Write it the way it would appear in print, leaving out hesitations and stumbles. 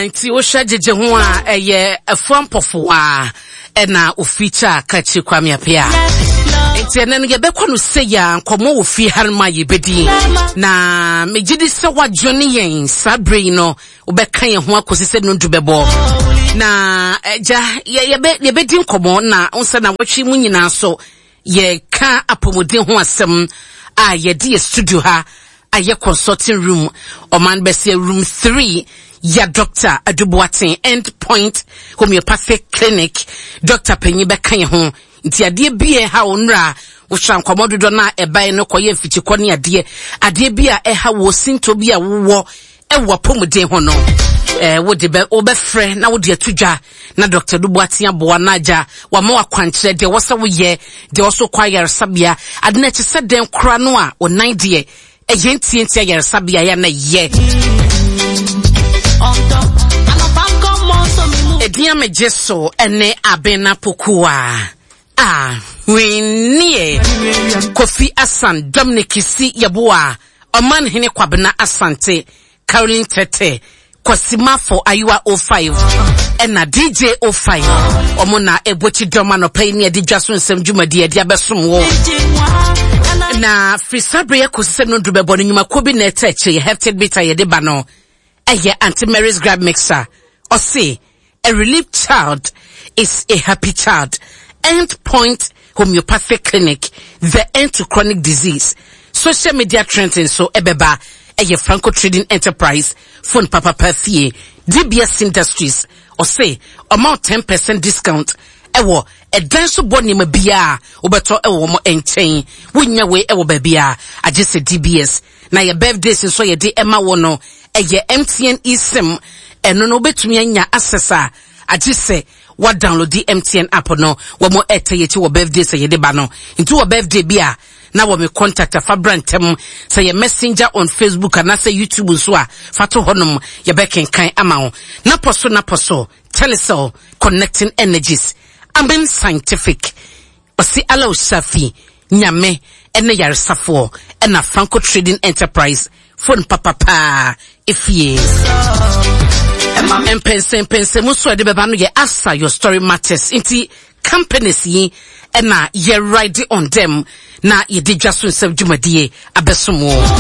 Nti wohwɛ gyegye ho a ɛyɛ afua mpɔfowa ɛna ofeature Kakyire Kwame Appiah. Nti ɛnɛ no yɛbɛkɔ no sɛ yɛ a nkɔmmɔ wɔ fie ha no ma yɛbɛdi. Na megye di sɛ woadwene yɛn saa berɛ yi no wobɛka yɛn ho akɔsi sɛ nondu bɛbɔ. Na agya yɛbɛdi nkɔmmɔ na wo sɛ na wɔtwe mu nyinaa so Yɛreka apɔmuden ho asɛm a yɛde yɛ studio ha ayɛ consulting room ɔman bɛsɛ room 3 ya Dr. Adu Boateng End Point Homeopathic Clinic Dr. panyin bɛka yɛn ho nti adeɛ bi a ɛha wo nnora wohyɛ nkɔmmɔ dodoɔ no a ɛbae no kɔyɛ mfikyikɔ ne adeɛ adeɛ bi a ɛha wo sintɔ bi a wowɔ ɛwɔ apɔmuden ho no ɛɛ wode bɛ wobɛfrɛ na wode ato dwa na Dr. Duboaten aboa na agya wama wakwankyerɛ deɛ wɔsɛ woyɛ deɛ wɔso kɔ ayaresabea ade no akyi sɛ dɛn kora no a onan deɛ ɛyɛ ntiantia ayaresabea yɛ na ɛyɛ ɛdin amegye so ɛne Abena Pokuwa a hwenneɛ Kofi Asan Dominic Si Yeboah Ɔman Hene Kwabena Asante, Caroline Tete, Kwasi Mafo Ayewa 05 ɛna DJ 05 ɔmo na ɛbɔ kyi dɔm anɔpa yi ne ɛde dwa so nsɛm dwumadi ɛde abɛsom wo. Na firi saa bere yɛ kɔsi sɛ nondu bɛbɔ no nnwumakuo bi na ɛtɛ akyire yɛ hefted bit a yɛde ba no ɛyɛ Auntie Mary's Grab Mixer. Ɔse A relieved child is a happy child. End Point Homeopathic Clinic, the end to chronic disease. Social media trends nso ɛbɛba ɛyɛ Franco Trading Enterprise, phone papapa fie, DBS Industries. Ɔse ɔma wo 10% discount ɛwɔ ɛdan so bɔ nneɛma biara wobɛtɔ ɛwɔ wɔn nkyɛn. Wonnya wei ɛwɔ baabiara agye sɛ DBS. Na yɛ birthdays nso yɛde ɛma wɔ no ɛyɛ MTN eSIM ɛno no wobɛtumi anya access a agye sɛ wa download MTN app no wɔn ɛtɛ yɛkyi wɔ birthday sɛ yɛde ba no nti wɔ birthday bi a na wɔ me contact afa bra ntɛm sɛ yɛ messenger on Facebook anaasɛ YouTube nso a fa to hɔnom yɛbɛkenkan ama wo napɔ so napɔ so Telecel connecting energies Amen Scientific Ɔse Alao Shafi Nyame ne yaresafoɔ ɛna Franco Trading Enterprise phone papa paa efie. Mpɛnsɛmpɛnsɛmu nso a ɛde bɛba no yɛ Asa Your Story Matters nti companies yi ɛna yɛ ride on them na yɛde dwa so nsɛm dwumadie abɛsom wo.